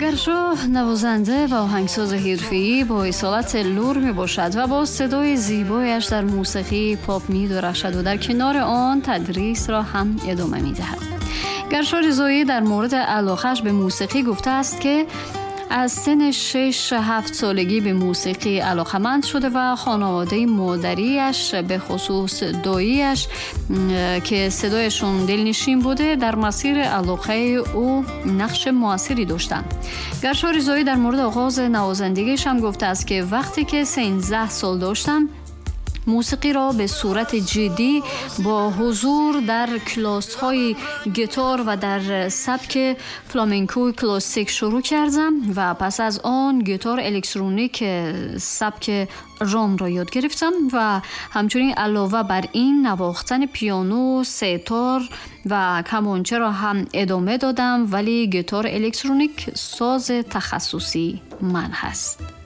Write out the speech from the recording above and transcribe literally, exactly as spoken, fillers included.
Гаршо навозанда ва оҳангсози ҳирфаӣ бо исолати лур мебошад ва бо садои зебояш дар мусиқии поп медурахшад ва дар канори он тадрисро ҳам идома медиҳад. Гаршо Ризоӣ дар мавриди алоқааш ба мусиқӣ гуфтааст, ки аз синни шаш-ҳафт солагӣ ба мусиқӣ алоқаманд шуда ва хонаводаи модариаш, бахусус доияш, ки садояшон дилнишин буда, дар масири алоқаи ӯ нақши муассире доштанд. Гаршо Ризоӣ дар мавриди оғози навозандагиаш ҳам гуфтааст, ки вақте ки сездаҳ сол доштам, мусиқиро ба сурати ҷиддӣ бо ҳузур дар классҳои гитар ва дар сабки фламенкои классик шурӯъ кардам ва пас аз он гитар электроник сабки ромро ёд гирифтам ва ҳамчунин алова бар ин навохтани пиано, сетор ва камончаро ҳам идома додам, вале гитар электроник сози тахассусии ман ҳаст.